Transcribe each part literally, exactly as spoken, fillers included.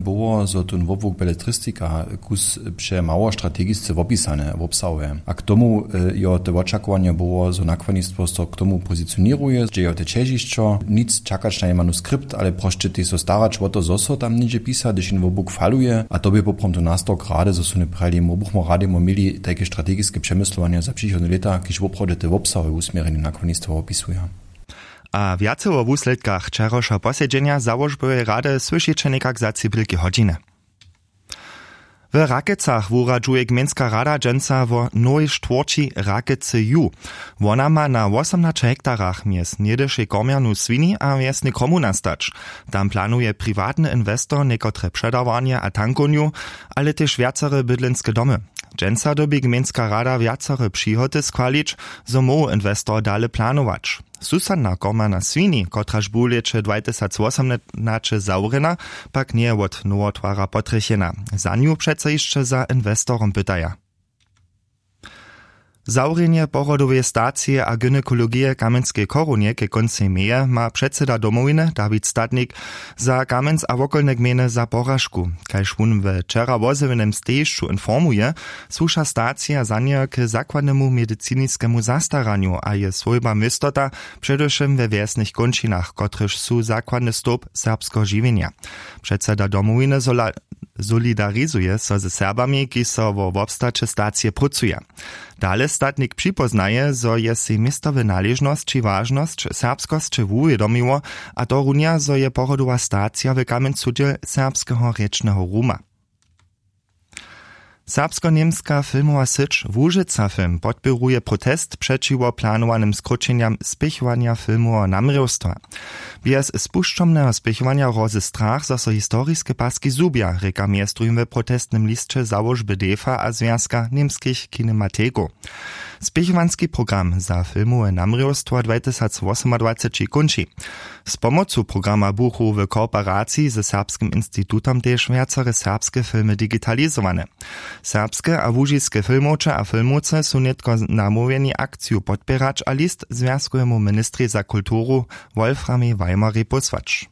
Było zo tón wobłuk beletristika, kus přemało strategisce wopisane wobsahuje a k tomu jo te wočakowanje było zo nakładnistwo so k tomu pozicioněruje, dźe jo te ćežišćo nic čakać na jej manuskript ale prosće tež so starać wo to zo so tam něhdźe pisa hdyž jen wobłuk faluje a to bě poprawom to nastawk rady zo su njeprajili mobuchmo radejmo měli tajke strategiske přemyslowanja za přichodne lěta kiž woprawdźe te wobsahowe wusměrjenje nakładnistwa wopisuja. A wjace wo wusledkach wčerawšeho posedźenja załožboweje rady słyšiće někak za tři pělki hodźiny. W Rakecach wuradźuje gmejnska rada dźensa wo nowej štwórći Rakece ju. Wona ma na wosomnaće hektarach mjez něhdyšej kormjernu swini a wjesnej kromuna stać. Tam planuje priwatny inwestor někotre předawarnje a tankownju, ale tež wjacore bydlenske domy. Dźensa dyrbi gmejnska rada wjacore přihoty schwalić, zo móhł inwestor dale planować. Susadna korma na swini, kotraž bu w lěće dwatysacwosomnaće zawrjena, pak njeje wot nowotwara potrjechena. Za nju přeco hišće za inwestorom pytaja. Zawrjenje porodoweje stacije a gynekologije w kamjenskej chorownje ke kóncej meje ma předseda domowiny dawid statnik za kamjenc a wokolne gmejny za poražku. Kaž wón we wčera wozjewjenem stejišću informuje, słuša stacija za njeho k zakładnemu mediciniskemu zastaranju a je swójba městota, předewšěm we wjesnych kónčinach kotrež su zakładny stołp serbskeho žiwjenja. Předseda domowiny solidarizuje so ze serbami kiž so wo wobstaće stacije prócuja. Dale statnik připoznaje zo je sej městowe naležnosći wažnosć serbskosće wuwědomiło, a to runja zo je porodowa stacija w kamjencu dźěl serbskeho rěčneho ruma. Serbskoněmska filmowa syć łužica film podpěruje protest přećiwo planowanym skróćenjam spěchowanja filmoweho namrěwstwa. Bjez spušćomneho spěchowanja hrozy strach zo so historiske paski zhubja rěka mjez druhim w protestnym lisće załožby defa a zwjazka němskich kinematikow. Spěchowanski program za filmowe namrěwstwa dwatysacwosomadwaceći kónči. Z pomocu programa buchu w kooperaciji ze serbskim institutom tež wjacore serbske filmy digitalizowane. Serbske a łužiske filmowče a filmowce su nětko namołwjeni akciju podpěrać a list zwjazkowemu ministrej za kulturu wolframej weimerej pósłać.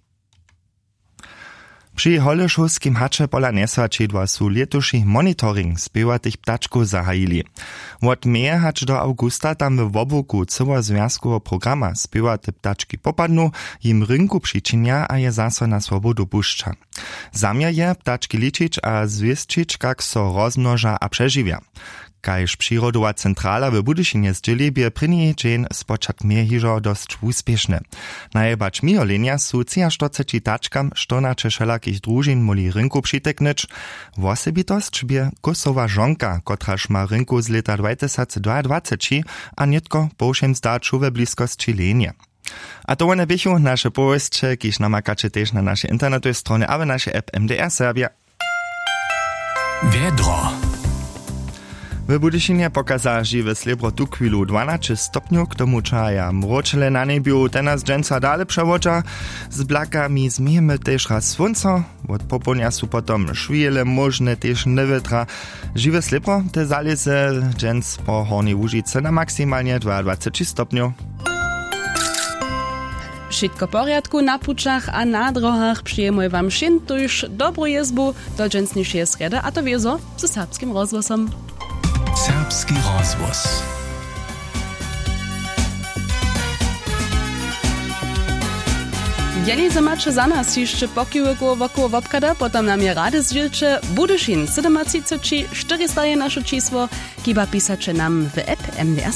Při holešowskim haće pola njeswaćidła su lětuši monitoring spěwatych ptačkow zahajili. Wot meje hač do awgusta tam we wobłuku cyłozwjazkoweho programa spěwate ptački popadnu, jim rynku přičinja a je zaso na swobodu pušća. Zaměr je ptački ličić a zwěsćić kak so rozmnoža a přežiwja. Kaž přirodowa centrala w budyšinje zdźěli bě prěni dźeń spočatk mje hižo dosć wuspěšny. Najebać miholenja su třiaštyrceći tačkam štyrnaće wšelakich družin móhli rynku přiteknyć. Wosebitosć bě kósowa žonka kotraž ma rynku z lěta dwatysacdwaadwaceći a nětko po wšěm zdaću we bliskosći lenje. A to wone běchu naše powěsće kiž namakaće tež na našej internetowej stronje a w našej app mdr serbja. Wjedro. W budyšinje pokaza žiwe slěbro tuchwilu dwanaće stopnjow k tomu čahaja mróčele na njebju tenaž dźensa dale přewodźa. Z blakami změjemy tež raz słónco. Wot popołdnja su potom šwijele móžne tež newětra. Žiwe slěbro te zalěze dźens po hornjej łužicy na maksimalnje dwaadwaceći stopnjow. Wšitko w porjadku na pućach a na drohach přejemoj wam wšěm tuž dobru jězbu do dźensnišeje srjedy a to wězo ze serbskim rozhłosom. Serbski rozhłos. Jeli zo maće za nas hišće pokiwikow wokoło wobchada potom nam je rady zdźělće. Budyšin sydomatřiceći štyrista je naše čisło. Hiba pisaće nam w app mdr.